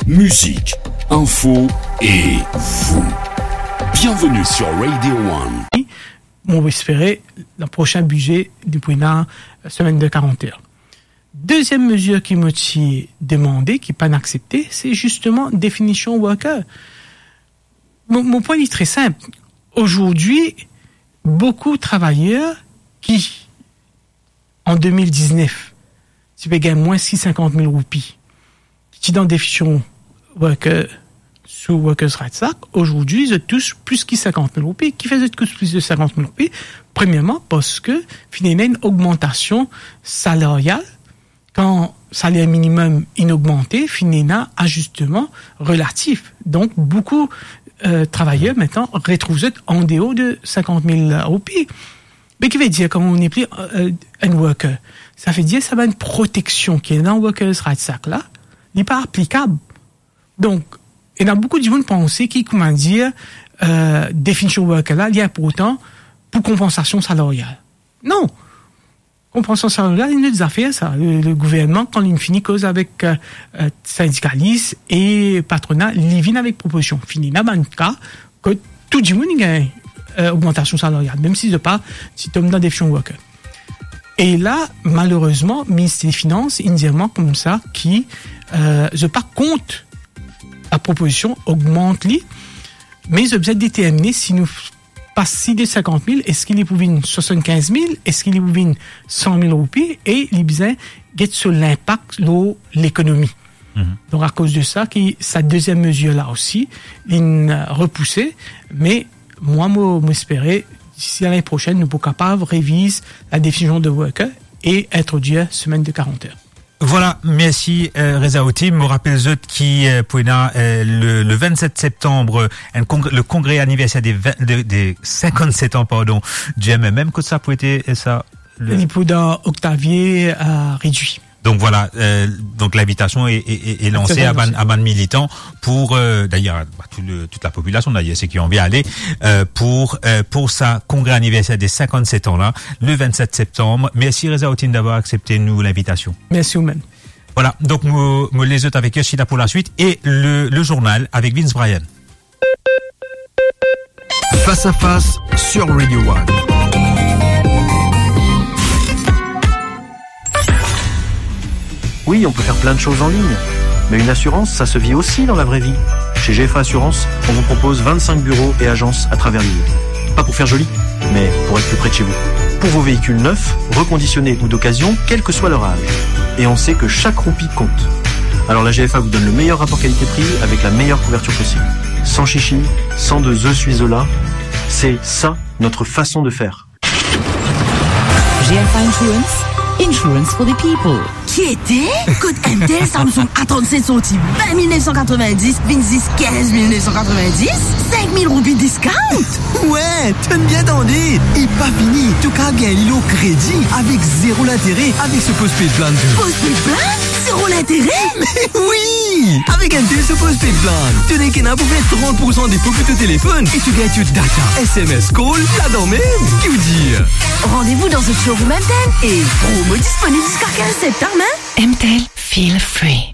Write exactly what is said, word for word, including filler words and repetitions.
Mizik, info e vou. Bienvenue sur Radio One. Mo espere le prosin bize nou pou ena semenn de karant er. Deziem mezir ki mo ti demande, ki pa'nn aksepte, se zisteman definision worker. Mo, mo pwin li tre sinp. Azordi, boukou travayer ki, an de mil diznef, ti pe gagn mwins ki sinkant mil roupi, ki ti dan definision worker sou Workers' Rights Act, azordi, zot tous plis ki sinkant mil roupi. Kifer zot tous plis de sinkant mil roupi? Premierman, parski finn ena enn ogmantasion salaryal. Kan saler minimem inn ogmante, finn ena azisteman relatif. Donk, boukou, euh, travayer, aster, retrouv zot an deor de sinkant mil roupi. Me ki vedir, kan ou nepli, euh, enn worker, sa vedir sa bann proteksion ki ena dan Workers' Rights Act la, li pa aplikab. Donk, ena boukou dimoun panse ki, koumadir, euh, definision worker la, li inportan pou konpansasion salaryal. Non. Konpansasion salaryal, enn lot zafer sa. Le, le gouvernman, kan li fini koz avek, euh, euh, sindikalis e patrona, li vinn avek propozision. Finn ena bann ka kot tou dimoun inn gagn, euh, ogmantasion salaryal, mem si zot pa ti tom dan definision worker. E la, malerezman, Minister Finans inn dir mwa koumsa ki, euh, zot pa kont la propozision ogmant li, me zot bizin determine si nou pas li de sinkant mil, eski li pou vinn swasannkinz mil, eski li pou vinn san mil roupi, e li bizin get so linpak lor lekonomi. Mhm. Donk, akoz de sa, ki sa deziem mezir la osi, linn repouse, me mwa, mo, mo espere, disi lane prosenn, nou pou kapav reviz la definision de worker e introdwir semenn de karant er. Vwala, mersi, euh, Rezaoutin. Mo rapel zot ki, euh, pou ena, euh, le, le vennset septanm, euh, enn kongre, le kongre aniverser de vin, de, de sinkannset an, pardon, di M M M. Kot sa pou ete, euh, sa, le... Li pou dan Octavie, euh, redwi. Donk vwala, euh, donk linvitasion e, e, e, e lanse a bann, a bann militan pou, euh, dayer, ba, tou le, tout lapopilasion dayer, seki anvi ale, euh, pou, euh, pou sa kongre aniverser de sinkannset an la, le vennset septanm. Mersi Rezaoutin davwar aksepte nou linvitasion. Mersi oumem. Vwala, donk mo, mo les zot avek Yoshida pou laswit e le, le zournal avek Vince Bryan. Face à face sur Radio One. Oui, on peut faire plein de choses en ligne, mais une assurance, ça se vit aussi dans la vraie vie. Chez G F A Assurance, on vous propose vingt-cinq bureaux et agences à travers l'île. Pas pour faire joli, mais pour être plus près de chez vous. Pour vos véhicules neufs, reconditionnés ou d'occasion, quel que soit leur âge. Et on sait que chaque roupie compte. Alors la G F A vous donne le meilleur rapport qualité-prix avec la meilleure couverture possible. Sans chichi, sans de je suis là, c'est ça notre façon de faire. G F A Insurance, insurance for the people. Kiete? Kot M T L Samsung A trente-sept sorti vingt mil neuf cent quatre-vingt-dix, vinn zis kinz mil neuf cent quatre-vingt-dix, cinq mille roupies discount? Wi, to'nn bien tande. E pa fini, to kav gagn li lor kredi avek zero lintere avek so postpaid plan. Postpaid plan? Zero lintere? Me wi! Avek M T L so postpaid plan, to nek ena pou fer trant poursan depo pou to telefonn e to gagn to data, S M S, call ladan mem. Ki ou dir? Rendez-vous dans un showroom M T L et promo disponible jusqu'à quinze septembre, hein? M T L, feel free.